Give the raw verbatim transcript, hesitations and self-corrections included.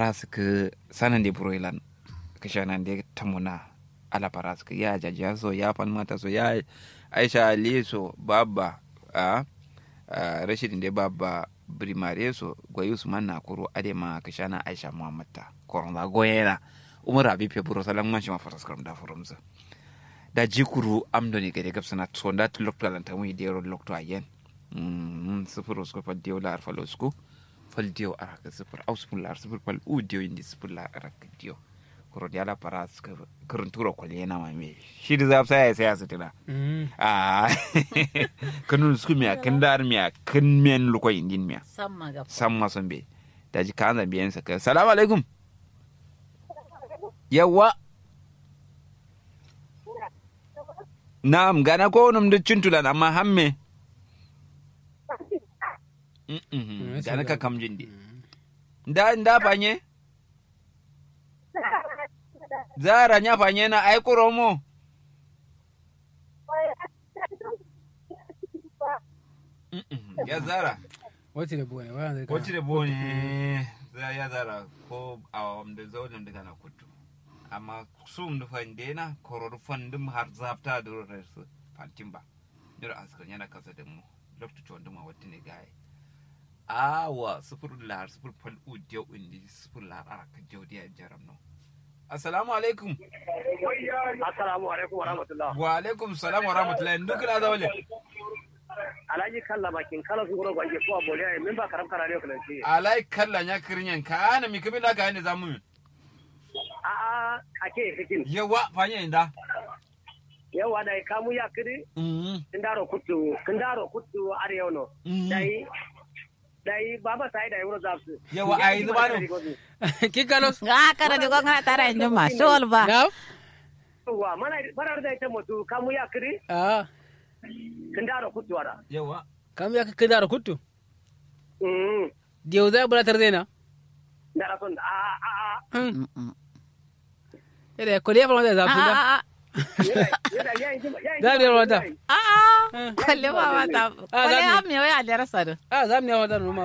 Faraskǝ sanande buroilan kǝshanande tamona. Ala faraskǝ ya jajiya so ya falmata so ya aisha ali so babba. A rashidin dai babba birimare so goyi usman na kuru adai ma kǝshana aisha muhammad ta koronza goyena. Umar abi feburo salam man shima faraskǝ ram da furumzǝ. Daji kuru amdone gade gabsǝna sonda tǝ loktu alantamu idero loktu ayen. Sǝfur usku fal diyo la'ar fal usku fal diyo arak sǝfur au sǝfur la'ar sǝfur fal u diyo indi sǝfur la'ar arak diyo. Kuro diya la faraskǝ kǝrǝnturo kwaliyena ma me. Shi dǝ zafsa yayi sai asǝtǝna. Ahh. Kǝnun sǝkǝmiya kǝndarmiya kǝnmen luko indinmiya. Samma so mbeyi. Daji kaanza mbeyen sakkǝ salamu alaikum. Yawwa. Na'am gana kowonum dǝ cuntulan amma hamme. Gana kakamjin de. Nda nda fanye. Zara nya fanye na ai kuro mo. Ya zara. Wacce da bone waya zai kara. Wacce da bone. Ya zara ko awam da zaunin da kana kuttu. Amma sum da fande na koror fandum har zafta da ro resu fantin ba. Niro askar yana kasa da mu. Loktu chonduma watti ne gaye. Awa sufur lar sufur fal u diyo indi sufur lar araka diyo diya jaram no. Assalamu alaikum. Assalamu alaikum wa rahmatullah. Wa alaikum salam wa rahmatullah. Ndu kǝla zaule. Alhaji kalla makin kala su guro gwange ko aboliya min ba karam kara ne kala shi. Alai kalla nya kirinyen ka ana mi kibin da ka ne zamu. A a ake fikin. Yawa fanye inda. Yawa dai kamu ya kidi. Kindaro kuttu kindaro kuttu are yono. Dai dai baba sai dai wuro zafsu. Yawa ai zubano. Kikalos. Nga kara de gongana tara injuma sol ba. Wa mana bara da ita mutu kamu ya kiri. Ah. Kindaro kuttu ara. Yawa. Kamu ya kindaro kuttu. Mm. Diyo zai bura tarzena. Ndara son a a a. Ede kole ya fama da zafu da. Za mu yi wata. A'a kole ba wata. Kole ya miyo ya lera sadu. A za mu yi wata numa.